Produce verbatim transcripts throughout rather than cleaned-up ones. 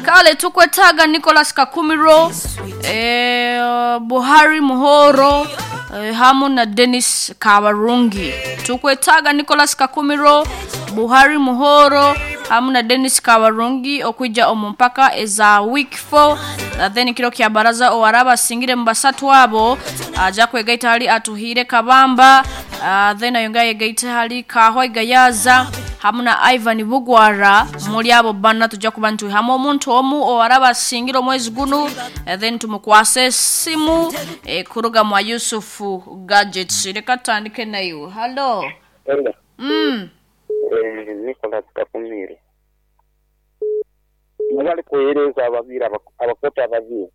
Kale tukwetaaga Nicholas Kakumiro, eh, Buhari Muhoro, eh, hamu na Dennis Kabarungi. Tukwetaaga Nicholas Kakumiro, Buhari Muhoro hamu na Dennis Kabarungi okwijja omu mpaka eza week four. Uh, then kiro kya baraza owaraba asingire mu basatu abo aja kwegaita hali Atuhire Kabamba, uh, then ayonga yegaita hali Kahwa Gayaza hamu na Ivan Bugwara. Muri abo bana tujja kuba ntuhamu omuntu omu owaraba asingire omwezi guno, uh, then tumukwase simu eh, kuruga mwa Yusufu Gadgets. Reka tutandike nayo. Hello. Hello. Mm. Eh, Nicholas Kakumiro. Nabali kuhereza ababiri abak- abakota ababiri.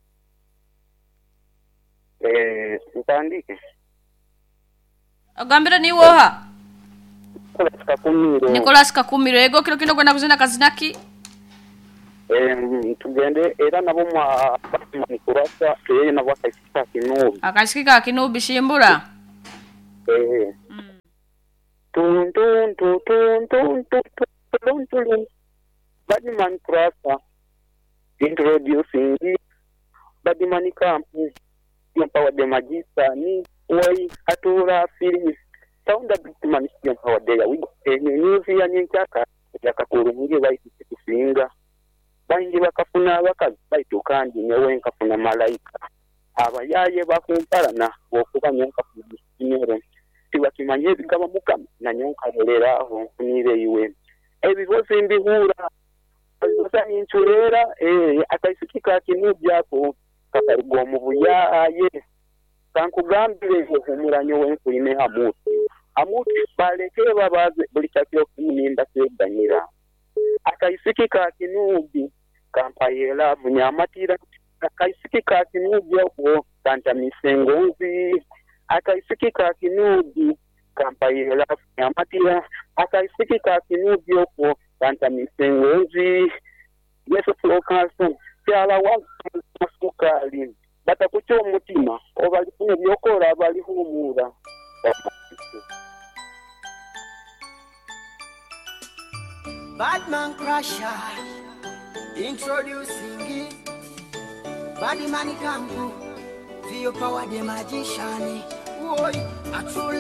Eh, ntandike. Agambira ni woha? Nicholas Kakumiro. Nicholas Kakumiro. Ego kiro kino gwenda kuzina kazinaki? Eh, tugende era nabo mwa Nikurasa yeye nabo akaisika kinubi. Akasikika kinubi shimbura. Eh. Mm. Tun tun tun tun tun tun tun tun tun. Badman Kurasa introducing Badman Camp Empower the Magician Wai Atura Phillips Sound Badman Empower the Wigo Enyuzi ya nyenkyaka yakakurungi baiti kusinga bangi bakafuna abakazi baitu kandi nyowe nkafuna malayika abayaye bakumpalana okuba nyo nkafuna musinyoro tibakimanye ebigaba mukama nanyo nkalolera aho nfunire iwe ebibozi mbihura nincureera eh, akaisiki ka kinubi ako kakaruga omu buyaaye kankugambire ohumura nyowe nkwine hamuti hamuti baleke babaze buli kyakiro kimu nimbateganira akaisiki ka kinubi kampaye laavu nyamatira akaisiki ka kinubi ako kantamise engonzi akaisiki ka kinubi kampaye laavu nyamatira akaisiki ka kinubi okwo kantamise engonzi yesu fulokanso kyala wasukali batakuca omutima obalifuna ebyokora balihumura. Badman Crusher, introducing Badman Kampu, the power the magician. Oi, a true